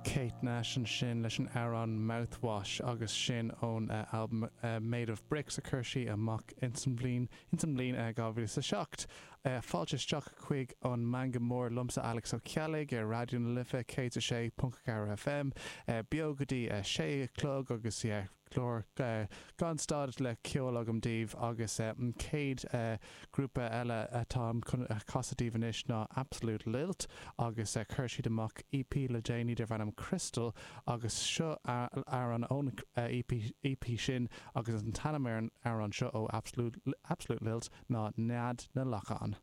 Kate Nash ansin leis an amhrán Mouthwash agus sin ón albam Made of Bricks a chuir sí amach ins an bhliain ins an mbliain 2007. Fáilte isteach chuig an Meangadh Mór liomsa Alex Ó Ceallaigh ar Raidió na Life 106.4 FM beo go dtí 6 a chlog agus yeah clár gan stad le ceol agam daoibh agus an chéad grúpa eile atáim chun a chasadh daoibh anois ná Absolute Lilt agus chuir siad amach EP le déanaí darb ainm Crystal agus seo amhrán ón EP sin agus an t-ainm ar an amhrán seo ó Absolute Lilt ná Nead na Lachán.